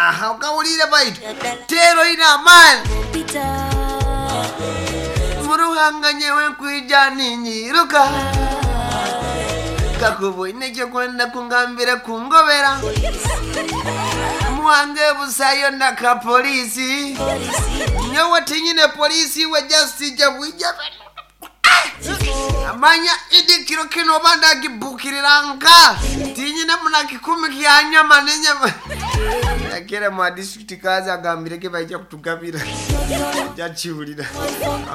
Aha okawulire baitu teera oine amaani. Muruhanga nyewe nkwija ninyiruka Kakuba oine ekyokwenda kungambira kungobera Mwange busayo na ka poliisi Nyowe tinyine poliisi iwe just ija bwija Manya idi kiro kinu oba ndagibukirira nka tinyine muna kikumi kya nyama nenyama Yakera mwa district kazi agambire ke baija kutugabira jakiwulira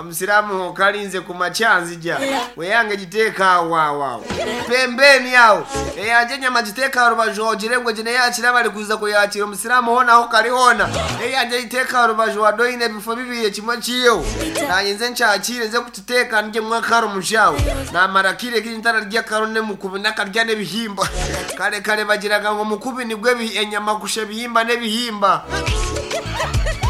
omusiraamu okalinze ku makya nzija weyange giteeka awo awo awo pembeni awo eyanje enyama giteeka aha rubaju ogire ngu egi neyakira bari kuza kuyakira omusiraamu hoona aho kari hoona eyangye giteeka aha rubaju wade oine ebifo bibiri ekimwe kiiheho nanye nze nkyakiire nze kukiteeka ndyemu akaro mushaho namara akaire kaingi ntararya akaro n'omukubi nakarya n'ebihimba kare kare bagiraga ngu omukubi nigwo enyama kusha ebihimba n'ebihimba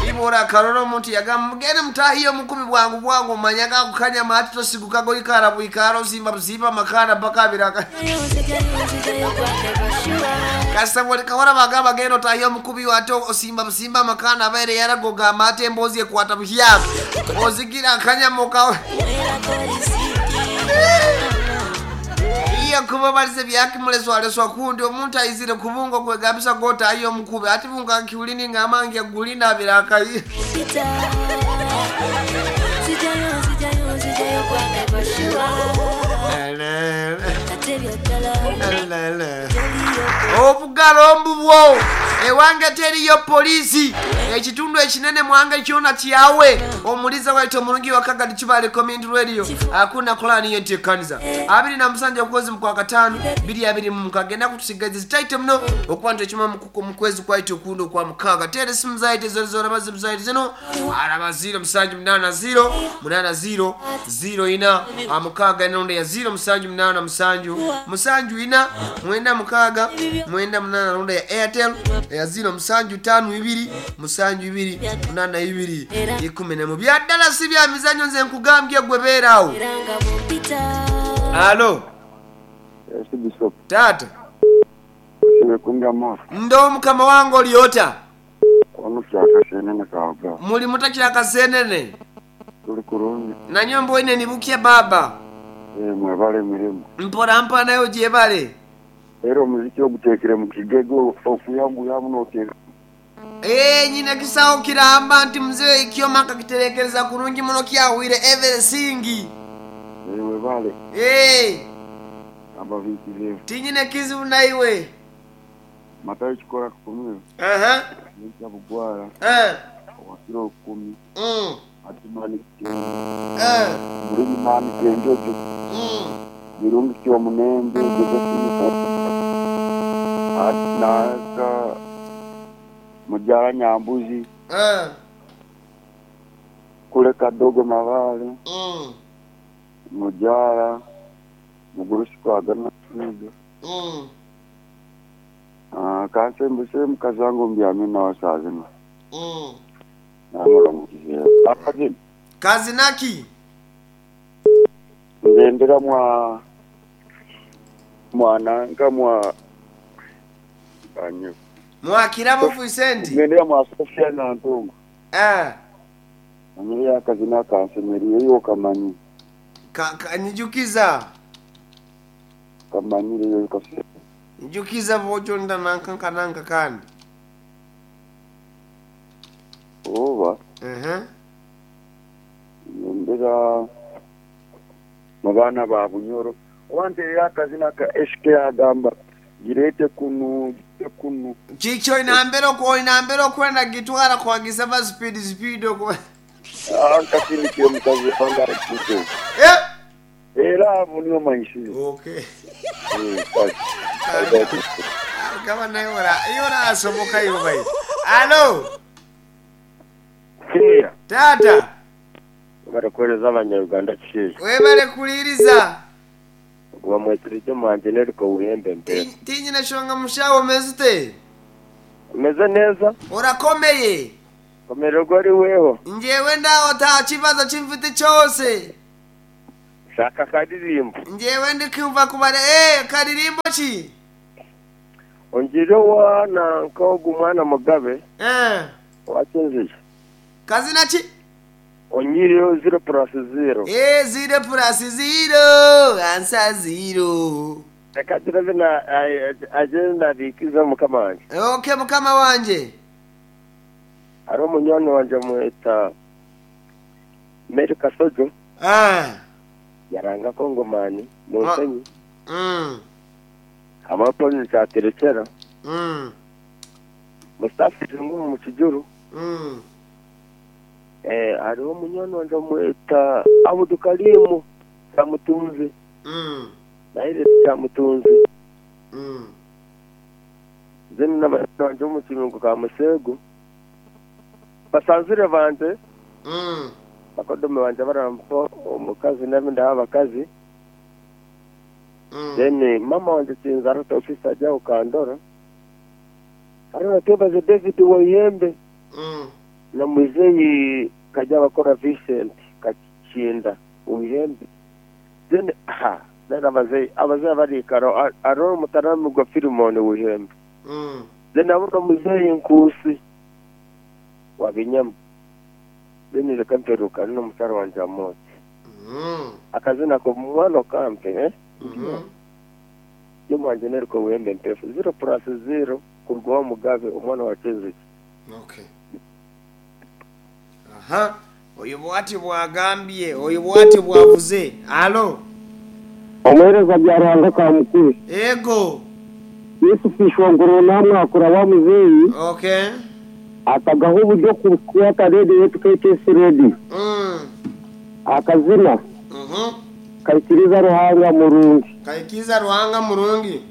Iwe orakarora omuntu yagamba mugende mutahiye omukubi bwangu bwangu omanya ako kanyama hati tosiguka goikara bwikara osimba busimba amakara mpaka abiraka kasita bwolikahora bagamba genda otahiye omukubi ate osimba busimba amakana abaire yaraga ogamba ate emboozi ekwata buhyaka ozigira akanyama okawe Iya kuba balize byakimuleswaleswa kundi omuntu aizire kubunga okwegambisa gotahiya omukubi ati bunga nkiulini ngamba ngyagulina abirakayi Obugalo mbubwo ewange teriyo poliisi ekitundu ekinene mwange kyona kyawe omuliza waitu omurungi wa Kagadi Kibale Community Radio akuna kulani yentekaniza 27 okwezi mukwa katano biri abiri mu mukaga enaku tusigaze zitaito muno okuba nti ekima mu kwezi kwaito okundi okwa mukaga tera esimu zaito zona zona bazimu zaito zino araba 0 musanju munana 0 munana 0 0 ina mukaaga enondo ya 0 musanju munana musanju musanju ina mwenda mukaaga mwenda munana ronda ya Airtel ya 0 musanju tano ibiri musanju ibiri munana ibiri ikumi nemu bya ddala si bya mizanyo nze nkugambye gwe beera awo alo Yes Bishop. Taata. Osiibye kundya moto? Ndo mukama wange oli ota? Wano Kyakasenene Kawaga. Muli muta Kyakasenene? Tuli kurungi. Nanyo mboine ni bukya baaba. Eeh mwebale emirimo. Mpora mpora naye ogyebale. Era omuziki ogutekere mu kigego okuyanguyamu noteeka. Eeh nyine ekisawo kiramba nti mzee ekyoma nkakiterekereza kurungi muno kyahwire everything. Eeh webale. Eeh. Kambabiikizeho. Tinyine kizibu naiwe. Matayo kikora kukumira. Aha. Nyenkya Bugwara. Eh. Owa kiro kumi. Adimani Kitengo. Eh. Mulimi Mani Kenjojo. Birungi Kyomunembe, Josephine Katumba. Nanka Mujara Nyambuzi. Eh. Kule Kadogo Mabale. Mujara Mugurusi Kwagana Twiga. Kansembuse mukazi wange ombyami nawe saaha zinu. Namuramukizeho. Akazina? Kazina ki? Ngendera mwa mwa nanka mwa banyo. Mwa Kirabo Vincent? Ngendera mwa Sofia Nantongo. Eh. Manyire akazina akansemereire iwe okamanyire. Ka, ka, nyijukiza. Okamanyire iwe kasese. Njukiza bw'otyo nda nanka nka nanka kandi. Oba. Uh-huh. Ngendera mu baana ba Bunyoro. Oba ntereire akazina ka SK agamba gireete kunu, gireete kunu. Kiki oinambera oinambera okwenda gitwara kwagisaba speed speed okuba. Ah, nkasindikire mukazi wange arikuze. Eh! Era abo niyo manyisize. Okay. Eh, kale. Kale. Kaba naye ora, iwe orasoboka iwe bai. Alo. Kiya. Taata. Webale kuhereza abanya-Uganda kishaija. Webale kuhuririza. Ogu bamwetsire gye omuhangi n'eriko Buhembe Mpeera. Tinyine shonga mushaho omeze ute? Meze neza. Orakomeye? Komererwa ori weho. Njyewe ndaho takibazo ki mfite kyose. Shaka akaririmbo. Njyewe ndikumva kubare eh karirimbo ki? Ongiire owa nanka ogu mwana Mugabe Eh. owa Kyenzija. Kazina ki? Onyiireyo ziro purasi ziro. Eh, ziro purasi ziro, ansa ziro. Reka agire na agire nabiikiza mukama wangye. Okay mukama wangye. Hariho munywani wangye bamweta Mary Kasojo. Ah. Yaranga Kongomani mu Nsenyi. Mm. Hamwe Paul Kyaterekyera. Mm. Mustafa Irungu omu Kijuru. Mm. Eh, hariho munywani wangye bamweta Abudukarimu Kyamutunzi. Mm. Naire Kyamutunzi. Mm. Then na banywani bangye omu Kibungo ka Museegu. Basanzire bangye. Mm. Bakodome bangye barampa omukazi nabi ndaha abakazi. Mm. Then mama wangye Kinzara Teofisa ari aho Kandora. Hariho na Twebaze David Waihembe. Mm. Na muzeeyi Karyabakora Vincent Kakinda Waihembe. Then ha then abazeeyi abazeeyi abariikara hariho Mutaramigwa Philemon Waihembe. Mm. Then hariho na muzeeyi Nkuusi wa Binyama. Then reka mperukane n'omukyara wangye Amooti. Mm. Akazina k'omwana okampe eh? Mm. Ndi wangye Neriko Wembe Mpefu ziro purasi ziro kuruga owa Mugabe omwana wa Kyenziki. Okay. Aha. Oyo bwati bwagambye, oyo bwati bwavuze. Alo. Omuheereza Byaruhanga Kamukuru. Ego. Yesu Ishongoro namwakura wa muzeeyi Okay. atagaho oburyo kukwata rediyo yaitu KTS Radio. Akazina Kaikiriza Ruhanga Murungi. Kaikiriza Ruhanga Murungi.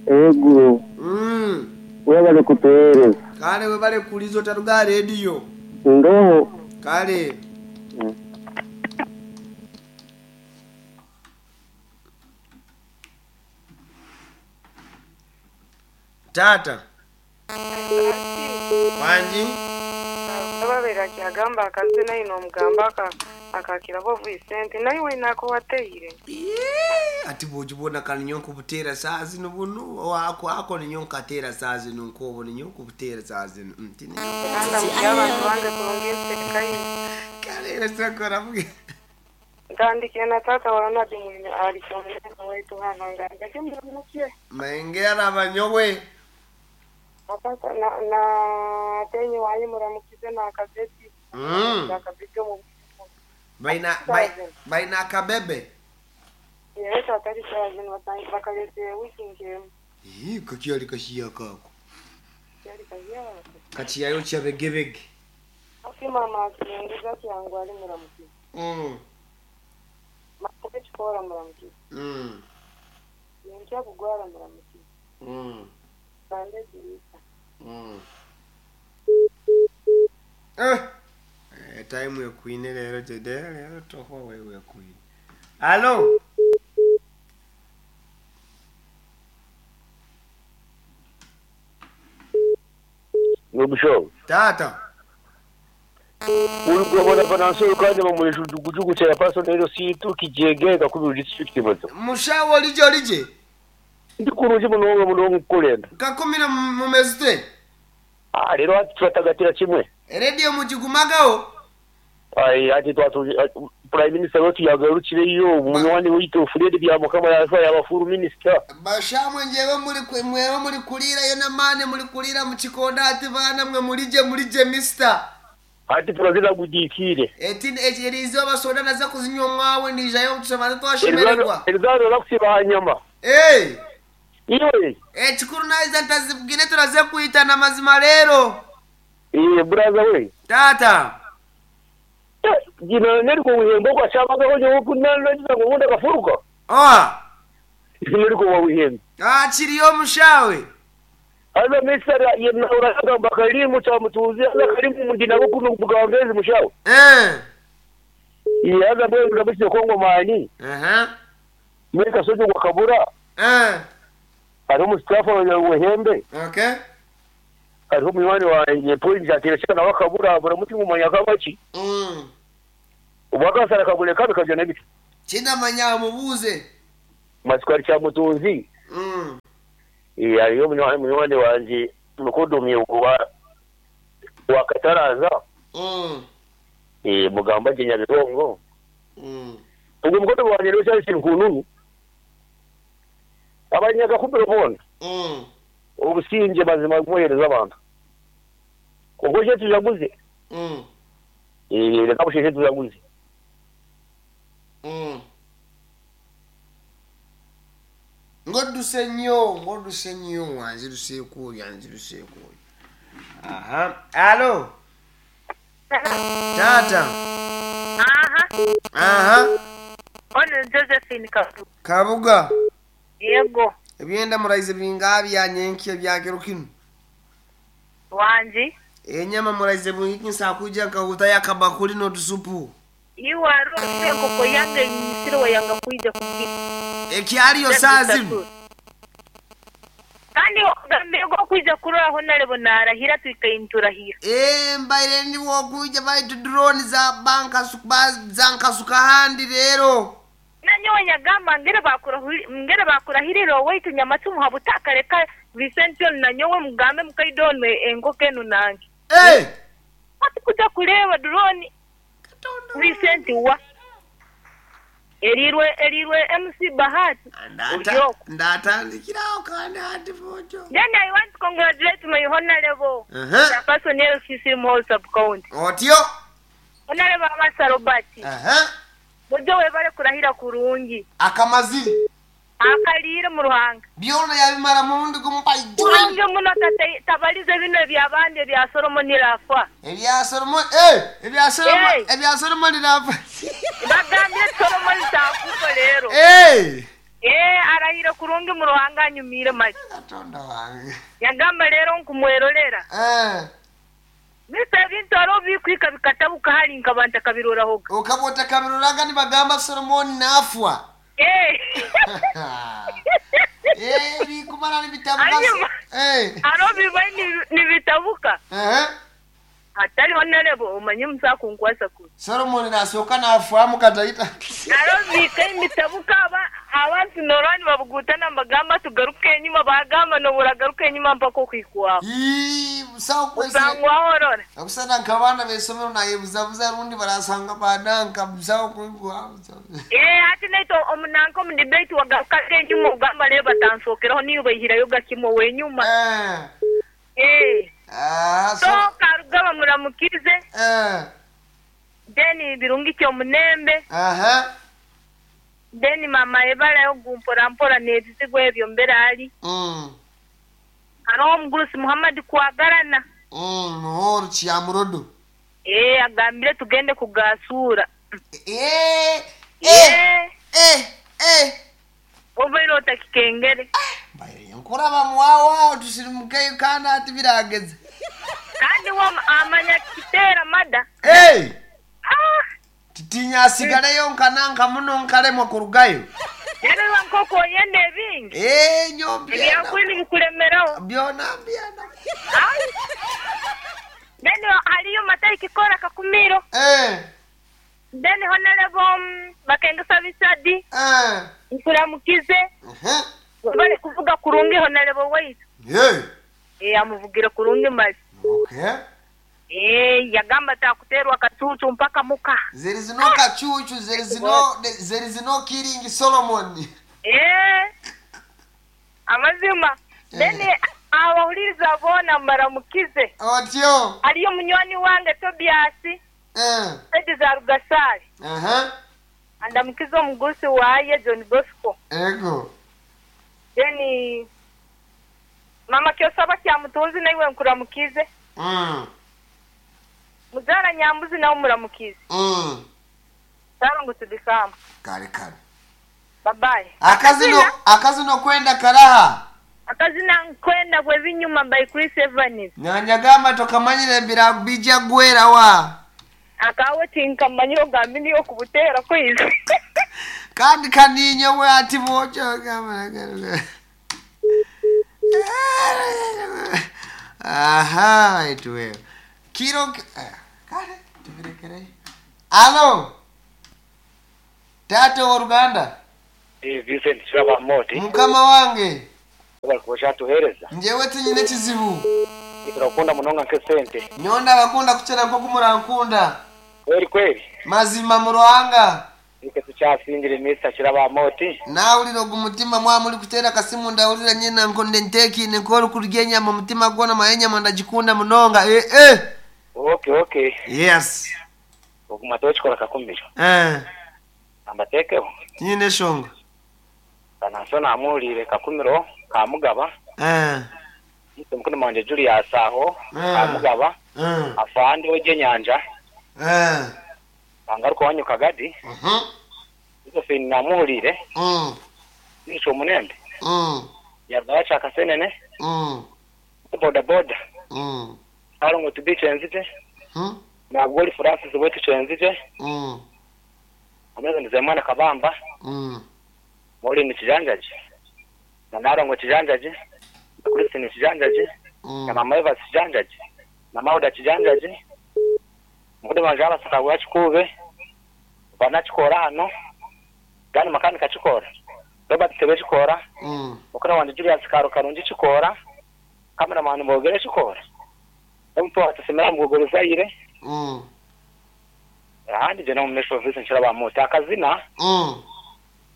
Ego. Webale kutuheereza. Kale webale kuhuriza otaruga aha rediyo. Ndoho. Kale. Taata. Wangi. Ababaire akyagamba akazina aine omugamba akakiraho Vincent naiwe nako wateire. Ati bwogibona kani nyowe nkubuteera saaha zinu bunu ako ako ninyowe nkateera saaha zinu nk'obu ninyowe nkubuteera saaha zinu nti Kandi amugye abantu bange kurungi nsekaine. Kale sokora Ntandikire na taata wa Ronald Mwine ahari Kyomunyanya waitu hanu ngambire muramutsye. Mayengera abanyowe. Na taata na na Tenyi wanyu muramukize na akabeti. Akabeti omu Baina baina akabebe. Yewe taata ari shaaha zinu bakareetire wiiki nk'emwe. Ii kakyari kashiya kako. Kyari kashiya. Kakiyayo kyabegebege. Ati mama akirengeza ati yangu ari muramukize. Mama ekikora muramukize. Nyenkya kugwara muramukize. Kandi egiriisa. Eh. Eh, time ekwine leero today leero tohwa wewe ekwine. Alo. Nomushaho. Taata. Urugobora Venansiyo kandi bamuresha ujugujugu chairperson LC2 Kijege Kakubiri district bato. Mushawo olije olije. Ndi kurungi munonga munonga kukurenda. Kakumira mumezite. Ah rero hati turatagatira kimwe. Radio mugigumagaho. Ai hati twatu Prime Minister wetu yagarukireyo munywani witu Fred Byamukama yafa yaba full minister. Bashamwe njewe muri mwewe muri kurirayo n'amaani muri kurira mu kikonda ati baana mwe murije murije mister. Hati turazira gudiikire. Eti eriizooba soda naza kuzinywa omwawe ndiijayo tubanze twashemererwa. Erizaaro rakusiba aha nyama. Hey! Iwe. Ekikuru naiza ntazibwine turaze kwitana mazima reero. Iye buraza we. Taata. Gino neriko wihembe okwashabagaho nyowe kunanagiza ngu obundi akafuruka. Oha. Neriko wawihembe. Ah kiriyo omushawe. Haza mister oragamba karimu kyamutuuzi haza karimu ndi nabo kunu bugambezi mushawe. Eh. Iye haza mbwenu ndamukire kongomani. Aha. Muri kasozi gwa kabura. Eh. Hariho omusitafu wehembe. Okay. Hariho munywani wangye Paul Njatirashika nawe akabura abura muti ngumanya akabaki. Obwo akasara kabure kabi kabyo n'ebiti. Kindamanya mubuuze. Matsiko ari Kyamutunzi. Hariyo munywani wangye mukodoomi wa Kataraza, mugamba gye Nyabirongo. Ogwo mukodoomi wangye niwe Charles Nkununu. Abanyakakubiro boona, obusingye mazima bumuheereza abantu. Obwo busheeshe tujaguze. Reka busheeshe tujaguze. Ng'odduse nnyo, ng'odduse nnyo, anziruseeko oyo, anziruseeko oyo. Aha, alo, taata. Aha. Aha. Ono Josephine Kabuga. Kabuga. Yego. Ebyenda muraize bingaha bya nyenkya bya kiro kinu? Wangi. Enyama muraize bungiki nsakuja nkahutayo akabakuli n'otusupu. Iwe hariho enkoko yange enyisire wayanga kwija kugira. Ekyariyo saa zinu. Kandi ogambire ngu okwija kuroraho narebo narahira twikaire niturahira. Ee, mbaire ndi wokwija baitu drone za bankasuka ahandi reero. Nanyowe nyagamba ngere ngere bakurahirira owaitu Nyamacumu habutaka reka Vincent onu nanyowe mugambe mukaida onu enkoko enu nange. Ee! Hati kuja kureeba drone Vincent wa erirwe erirwe MC Bahati oryokwo. Ndatandikiraho kandi hati fojo. Then I want to congratulate my honorable chairperson LCC Muhoro sub county. Otyo. Honorable Amasa Robert. Buryo webare kurahira kurungi. Akamaziri. Akaliire mu Ruhanga. Byona yabimara murundi gumu Kurungi muno tabalize bino ebyabandi ebya Solomon Rafa. Ebya Solomon, ebya Solomon, ebya Solomon Rafa. Bagambye Solomon takufa leero. Arahire kurungi mu Ruhanga anyumire mali. Katonda wange. Yagamba leero nkumwerolera. Misa ebintu hariho bikwika bikatabuka hari nkaba ntakabirorahoga. Okaba otakabiroraga nibagamba Solomon nafwa. Bikumara nibitabuka. Hariho bibaye nibitabuka. Hatariho narebo omanye musakunkwasa kuri. Solomon nasooka nafwamu kataita. Hariho bika emitabuka abantu norora nibabugutana nibagamba tugaruke enyima bagamba noburagaruka enyima mpaka okuhikwaho. Osangwaho orora. Okusana nk'abaana b'eisomero nayebuzabuza rundi barasanga bananka busaho kwigwaho. Hati naitwe omunanka omu debate wagaruka enyuma ogamba reeba batansookeraho niyo baihirayo gakimwe wenyuma. So Karugaba muramukize. Then Birungi Kyomunembe. Then mama ebarayo gumpora mpora n'ebizibu ebyo mbere ari. Hariho omugurusi Muhammad Kwagarana. Muhoro Kyamurodo. Agambire tugende kugasura. Obaire otakikengere. Mbaire nkuraba mwawa tusirimukeyo kandi ati birageze. Kandi amanya kitera mada. Titinya asigaleyo nkananka muno nkalemwa kurugayo. Rero nkoko oyenda ebingi. Nyo ebyakwini bikuremeraho. Byona byona. Then hariyo matariki kora kakumiro. Then honorable Bakengesa Bisadi. Nkuramukize. Bari kuvuga kurungi honorable waitu. Amuvugire kurungi mali. Okay. Yagamba takuterwa kacucu mpaka muka. There is no kacucu, there is no killing Solomon. Amazima. Then abahuliriza boona mbaramukize. Otyo. Hariyo munywani wange Tobias. Saidi za Rugasari. Andamukize omugusi waye John Bosco. Ego. Then mama Kyosaba Kyamutunzi naiwe nkuramukize. Muzara Nyambuzi nawe muramukize. Sarongo tudikama. Kare kare. Bye bye. Akazino kwenda karaha. Akazina nkwenda bwebinyuma by Chris Evans. Nyanyagamba tokamanyire mbira bija gwera wa. Akawe tinkamanyiro gambi niyo kubutera kwize. Kandi kaninye we ati bocho gamba. Aha, itwe. Kiro kare tubirekere. Alo. Tato wa Uganda. Vincent Shaba Moti. Mukama wange. Webale kuba okyatuheereza. Njyewe tinyine kizibu. Turakukunda munonga nk'esente. Nyowe ndabakunda kukira nk'oku murankunda. Kweri kweri. Mazima mu Ruhanga. Itwe tukyasingire Mister Kirabamoti. Naahurira ogu mutima mwaba murikuteera akasimu ndahurira nyena nkonde nteekaine nk'orikurya enyama omutima gwona manya enyama ndagikunda munonga eh eh. Okay okay. Yes. Oguma tokikora kakumiro. Eh. Ambateekeho. Tinyine eshonga. Kananso namuhuriire Kakumiro Kamugaba. Eh. Itwe mukuru wangye Julius aho Eh. Kamugaba. Eh. Afande w'egyenyanja. Eh. Kangaruka owanyu Kagadi. Mhm. Josephine namuhuriire. Nisho Omunembe. Yaruga Kyakasenene. Boda boda. Sarongo tubi kyenzije. Nabwo ori Francis wetu kyenzije. Ameze Nizeyimana Kabamba. Maureen Kijanjaji. Na Narongo Kijanjaji. Na Christine Kijanjaji. Na Mama Evans Kijanjaji. Na Mauda Kijanjaji. Mukudu wanje abasaka gwa Kikuube. Banakikora hano. Gani makanika kikora. Robert Tebe kikora. Mukuru wanje Julius Karo Karungi kikora. Cameraman Bogere kikora. Omuntu watusemera mugogoro Zaire. Ahandi je no mumesho office nshira bamuta akazina.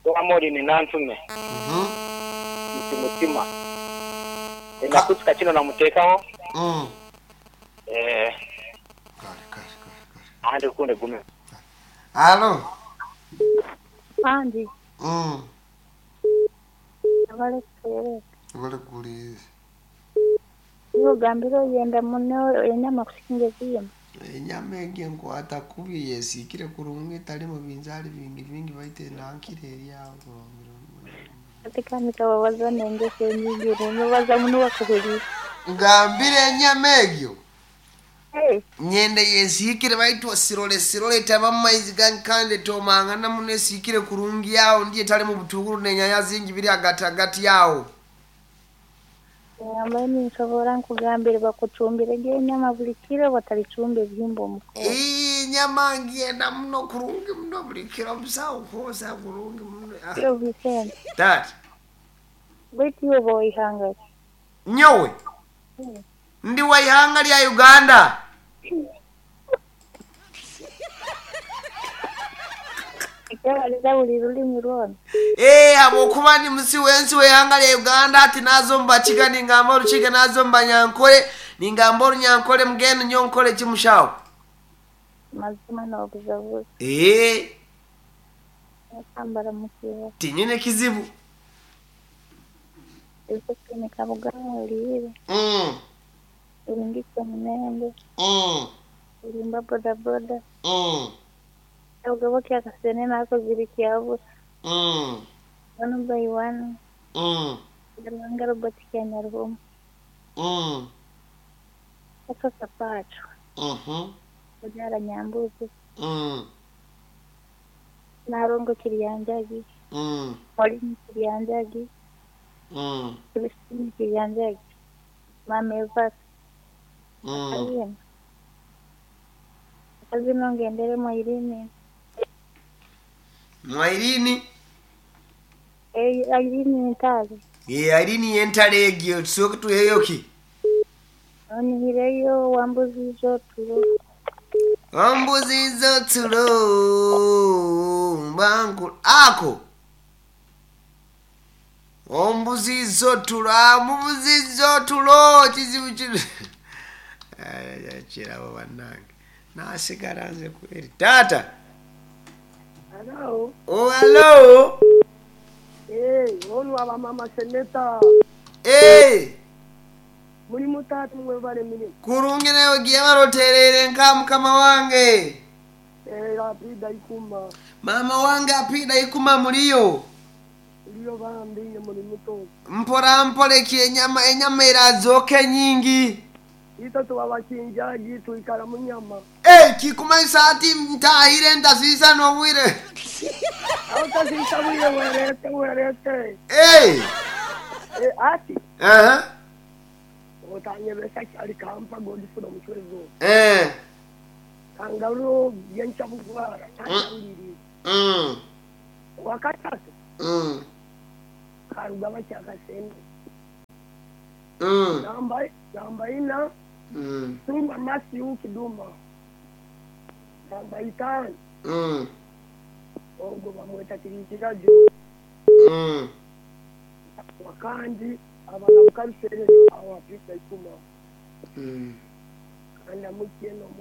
Wa ni nantume. Muti mutima. Nakutuka kino namutekaho. Kare kare kare. Ahandi kunde gume. Halo. Andi. Abale kutereka. Abale kuliza. Iwe ogambire oyenda muno enyama kusinga ezindi. Enyama egi enkwata kubi yesiikire kurungi etarimu binzaari bingi bingi baitu enankire eri aho kurungi. Ati kandi kababaza n'engeso enyingi nobaza muno bakuhuriire. Ngambire enyama egyo. Hey. Nyende yesiikire baitu sirole sirole etaba mu maizi gangi kandi etomangana muno esiikire kurungi aho ndiyo etarimu butunguru n'enyanya zingi biri hagati hagati aho. Ngamba ninsobora nkugambire bakucumbire gye enyama buli kiro batalicumba ebihimba omukono. Enyama ngyenda muno kurungi muno buli kiro musawo kwosa kurungi muno. Yo Vicente. Tata. Baitu iwe oba w'ihanga ki? Nyowe. Ndi wa ihanga lya Uganda. Ekyabaliza buli rulimi rwona. Habwokuba ndi musi w'ensi w'ihanga lya Uganda ati naza omu Bakiga ningamba Orukiga naza omu Banyankore ningamba Orunyankore mbwenu nyowe nkore ki mushaho? Mazima nobuzabuza. Nakambara mukiba. Tinyine kizibu. Josephine Kabugabo oliire. Oringitse Munembe. Orimba boda boda. Abagabo kyakasene nako ziri kyabura. One by one. Ruhanga Robert Kyanyaruhuma. Atosa Pacho. Kubyara Nyambuzi. Narongo Kiryanjagi. Molini Kiryanjagi. Christine Kiryanjagi. Mama Evas. Akazina. Akazina ngendere Mwairini. Mwairini? Irene Ntale. Irene yentale egyo tusooke tuheyo ki? Onihireyo wambuzizo tulo. Wambuzizo tulo mbangu ako. Ombuzizo tulo amubuzizo tulo kizibu kino. Kirabo bannange. Nasigala nze kweri. Taata. Hello. Oh, hello. Hey, onu aba mama seneta. Hey. Muri mutatu mwebale mirimu. Kurungi nawe giye baroterere nka mukama wange. Apida ikuma. Mama wange apida ikuma muriyo. Ndiyo bambi muri muto. Mpora mpole ki enyama irazoke nyingi. Ito tuwabakinjaji tuikara munyama. Kikumaisa ati ntahire ndasisa nobwire. Autasisa bwire werete werete. Ati. Otanyebesa kyali kampa Godfrey omuchwezo. Kangaru yencha bugwara tandiri. Wakatatu. Karugaba kyakasende. Namba ina, Suma Matthew Kiduma. Namba itaano, ogwo bamweta Kirikirajo. Wakandi abana Mukaruserero aho Afrika ikuma. Kandi amukye n'omwana.